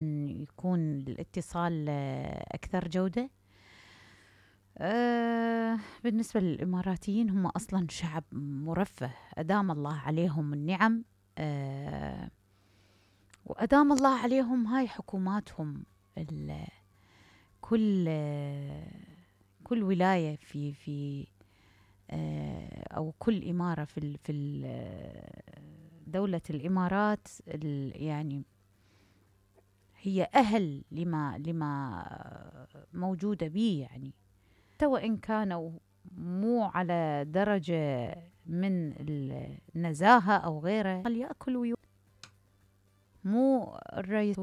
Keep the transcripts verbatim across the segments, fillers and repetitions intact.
يكون الاتصال آه، أكثر جودة. آه، بالنسبة للإماراتيين هم أصلا شعب مرفه، أدام الله عليهم النعم. آه، وأدام الله عليهم هاي حكوماتهم. ال- كل آه، كل ولاية في في آه، أو كل إمارة في ال- في ال- آه، دولة الإمارات، ال- يعني هي أهل لما لما موجودة به، يعني حتى وإن كانوا مو على درجة من النزاهة أو غيره، يأكل ويو مو الرئيس.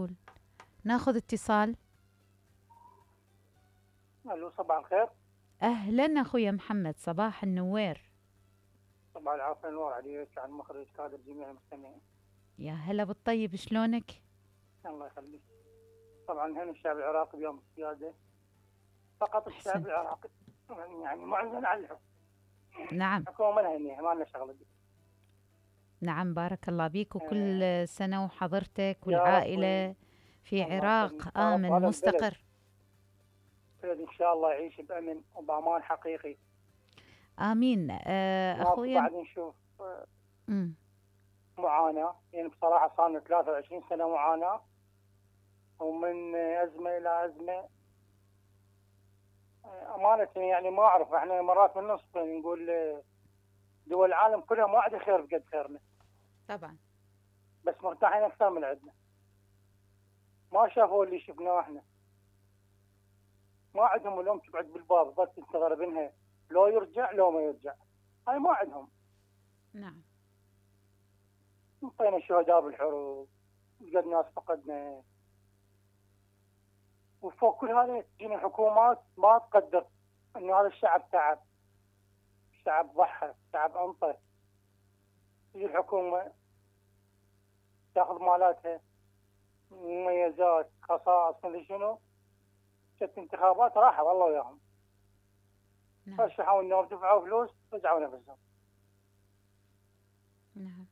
ناخذ اتصال. الو، صباح الخير. أهلا أخويا محمد، صباح النوير. صباح العافية، نور عليك، عن مخرج كادر جميع المستمعين. يا هلا بالطيب، شلونك؟ الله يخليك. طبعا هنا الشعب العراقي بيوم السيادة، فقط الشعب أحسنت. العراقي يعني معلن على الحكم. نعم الحكومة ما لها نية، ما لنا شغلة بي. نعم، بارك الله بيك، وكل آه سنة وحضرتك يا رب. والعائلة في الله يخليك عراق يا رب. آمن هذا البلد مستقر. بلد إن شاء الله يعيش بأمن وبأمان حقيقي. آمين. آه ماكو أخويا. بعد نشوف آه، مم. معاناة. يعني بصراحة صار لنا ثلاثة وعشرين سنة معاناة، ومن أزمة إلى أزمة. أمانة يعني ما أعرف، إحنا مرات من نصف نقول دول العالم كلها ما عندها خير بقد خيرنا، طبعا. بس مرتاحين أكثر من عندنا. ما شافوا اللي شفناه إحنا. ما عندهم الأم تقعد بالباب بس تستغربينها، لو يرجع لو ما يرجع. هاي ما عندهم. نعم. انطينا شهداء بالحروب، قد ناس فقدنا، وفوق كل هذا تجينا الحكومات ما تقدر انه هذا الشعب تعب، الشعب ضحى، الشعب انطى. تجي الحكومه تاخذ مالاتها، مميزات، خصائص، مدري شنو، جت انتخابات راحوا والله وياهم. نعم. رشحوا النواب، دفعوا فلوس، رجعوا نفسهم. نعم.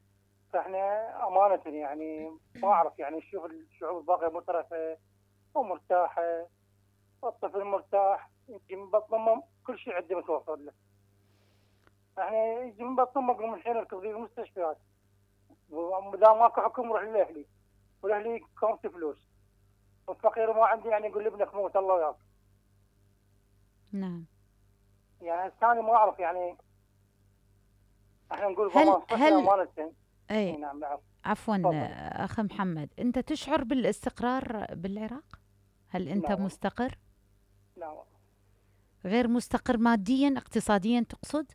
فاحنا امانه يعني ما اعرف، يعني نشوف الشعوب الباقيه مترفه ومرتاحه، والطفل مرتاح، يجي من بطن امه كل شيء عنده متوفر له. احنا يجي من بطن امه يقوم الحين يركض في المستشفيات، واذا ماكو حكم روح للاهلي، والاهلي كونت فلوس، والفقير ما عنده يعني يقول لابنك موت الله وياك. نعم. يعني الثاني ما اعرف، يعني احنا نقول هل ضمان صحي هل امانه. اي اي نعم نعم. عفوا. تفضل. اخ محمد، انت تشعر بالاستقرار بالعراق؟ هل انت لا والله. مستقر؟ لا والله. غير مستقر ماديا اقتصاديا تقصد؟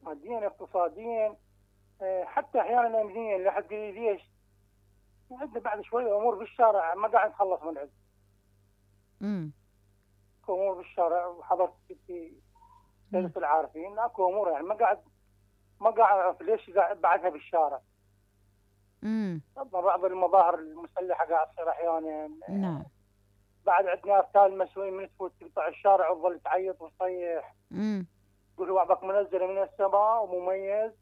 ماديا اقتصاديا، اه، حتى احيانا امنيا. لا حد يقول لي ليش؟ عندنا بعد شويه امور بالشارع ما قاعد نخلص من عندنا. امم. امور بالشارع، وحضرت في نعم. سيدة العارفين، اكو امور يعني ما قاعد ما قاعد اعرف ليش قاعد بعدها بالشارع. امم. بعض المظاهر المسلحه قاعد تصير احيانا. نعم. بعد عندنا ارتال مسؤولين من تفوت تقطع الشارع وتظل تعيط وتصيح، امم. تقول بعضك منزله من السماء ومميز.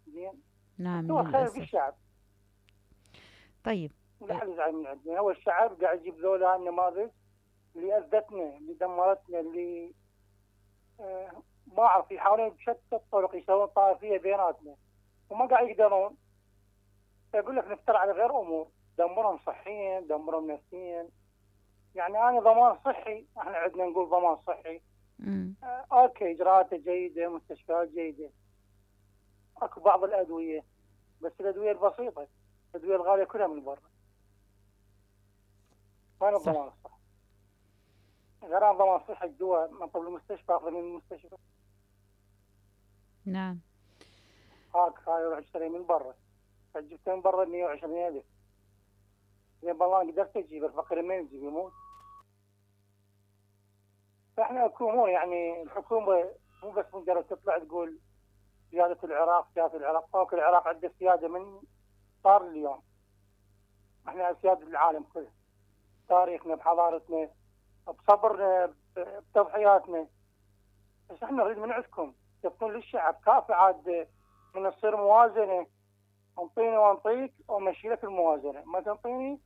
زين. نعم هو خير للاسف. بالشعب، طيب. لا حد يزعل من عندنا. هو الشعب قاعد يجيب ذولا النماذج اللي اذتنا، اللي دمرتنا، اللي آه ما اعرف يحاولون بشتى الطرق يسوون طائفيه بيناتنا وما قاعد يقدرون. يقول لك نفتر على غير امور، دمرهم صحيا، دمرهم نفسيا. يعني انا ضمان صحي، احنا عندنا نقول ضمان صحي. امم. آه اوكي، اجراءاته جيده، مستشفيات جيده، اكو بعض الادويه، بس الادويه البسيطه، الادويه الغاليه كلها من برا. وين صح. الضمان الصحي؟ غير عن ضمان صحي، الدواء من طب المستشفى اخذ من المستشفى. نعم. هاك هاي روح اشتري من برا، جبتها من برا مية وعشرين ألف. زين بالله قدرت اجيب، الفقير من يجيب يموت. فاحنا اكو امور يعني الحكومه مو بس مجرد تطلع تقول سياده العراق، سياده العراق. فوق العراق عنده سياده من صار اليوم. احنا سياده العالم كله، تاريخنا، بحضارتنا، بصبرنا، بتضحياتنا. بس احنا نريد من عندكم تبطون للشعب كافي عاد، من تصير موازنه، انطيني وانطيك وامشي لك الموازنه، ما تنطيني